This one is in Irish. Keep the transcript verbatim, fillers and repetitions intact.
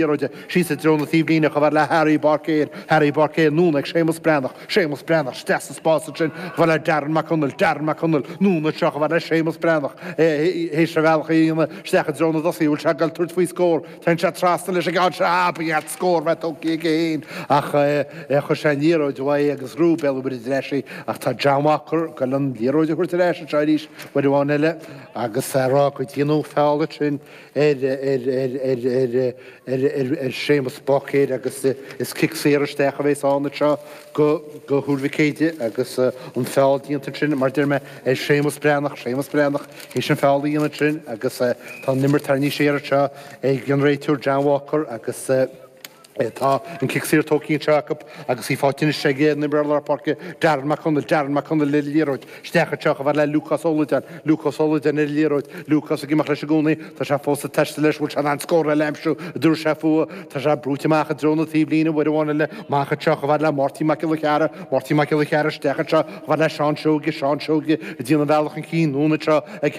liathróide síos i dtreo na taobhlíne chomh fada le Harry Báicéir, Harry Báicéir, anonn ag Séamus Breathnach, Séamus Breathnach, isteach sa spás ansin chomh fada le Darren Mac Conaill, Darren Mac Conaill, anonn anseo chomh fada le Séamus Breathnach, théis a bhealach a dhéanamh isteach i dtreo na dtosaithe, bhfuil sé ag dul tabhairt faoi scór, téann sé trasna leis an gceann seo, ah, ba cheart scór bheith tógtha aige féin ach chuir sé an liathróid uaidh agus ghnóthaigh Béal an Mhuirthead ar ais í ach tá John Walker ag dul an liathróid a thabhairt ar ais anseo arís uair amháin eile agus a rá go déanadh feall ansin ar ar ar ar ar ar ar ar Séamus Báicéir agus is cic saor isteach a bheas ann anseo go go Thuar Mhic Éadaigh agus an feall déanta ansin mar deir mé ar Séamus Breathnach, Séamus Breathnach théis an feall a dhéanamh ansin agus tá an imirt tarraingthe siar anseo ag an réiteoir John Walker agus Tá an cic saor tógtha anseo acu agus í faighte anois ag an imreoir lár páirce Darren Mac Conaill, Darren Mac Conaill ar an liathróid, isteach anseo chomh fada le Lúcás Ó Loideáin, Lúcás Ó Loideáin ar an liathróid, Lúcás ag imeacht leis i gcónaí, tá sé fós ag taisteal leis, bhfuil sé in ann scór eile a aimsiú, an dtabharfaidh sé fúthu, tá sé brúite amach i dtreo na taobhlíne, uair amháin eile, amach anseo chomh fada le Máirtín Mac Giolla Chearra, Máirtín Mac Giolla Chearra isteach anseo chomh fada le Seán Seoige, Seán Seoige ag déanamh a bhealach chun cinn, anonn anseo ag